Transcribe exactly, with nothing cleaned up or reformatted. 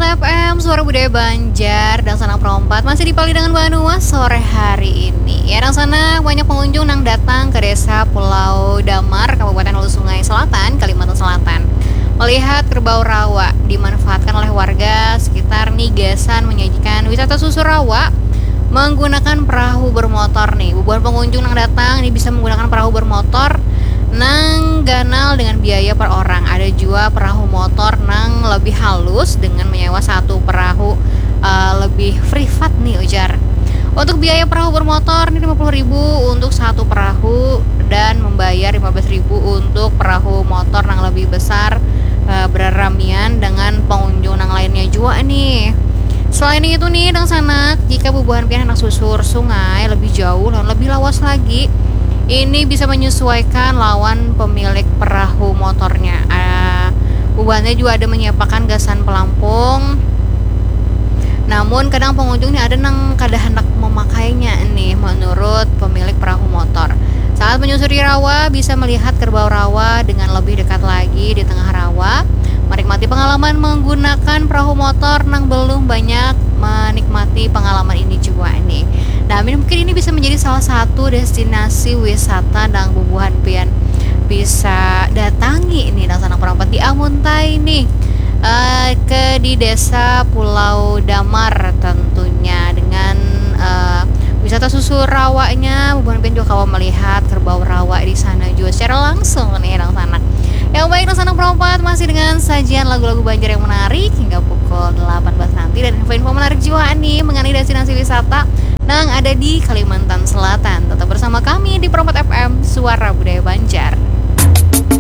F M Suara Budaya Banjar dan Sanak Perompat masih dipali dengan banua sore hari ini. Ya, dan sana banyak pengunjung nang datang ke Desa Pulau Damar, Kabupaten Hulu Sungai Selatan, Kalimantan Selatan. Melihat kerbau rawa dimanfaatkan oleh warga sekitar ni gasan menyajikan wisata susur rawa menggunakan perahu bermotor nih. Bubuhan pengunjung nang datang ini bisa menggunakan perahu bermotor nang ganal dengan biaya per orang. Ada juga perahu motor nang lebih halus dengan menyewa satu perahu, eh, lebih privat nih, ujar. Untuk biaya perahu bermotor ini lima puluh ribu untuk satu perahu dan membayar lima belas ribu untuk perahu motor nang lebih besar, eh, beraramian dengan pengunjung nang lainnya jua nih. Selain itu nih, dangsanak, jika bubuhan pian handak susur sungai lebih jauh dan lebih lawas lagi, ini bisa menyesuaikan lawan pemilik perahu motornya. Ah, bubuhannya juga ada menyiapakan gasan pelampung. Namun, kadang pengunjung nih ada nang kada handak memakainya nih, menurut pemilik perahu motor. Saat menyusuri rawa, bisa melihat kerbau rawa dengan lebih dekat lagi di tengah rawa, menikmati pengalaman menggunakan perahu motor nang belum banyak menikmati pengalaman ini juga nih. Nah, mungkin ini bisa menjadi salah satu destinasi wisata nang bubuhan pian bisa datangi nih, dangsanak perompat, di Amuntai nih. Eh, ke di Desa Pulau Damar tentunya, dengan, eh, wisata susur rawanya, bubuhan pian juga kawa melihat kerbau rawa di sana juga secara langsung nih, dangsanak. Yang baik, dangsanak perompat, masih dengan sajian lagu-lagu Banjar yang menarik hingga pukul delapan belas nanti, dan info-info menarik juga nih mengenai destinasi wisata nang ada di Kalimantan Selatan. Tetap bersama kami di Perompat F M, Suara Budaya Banjar.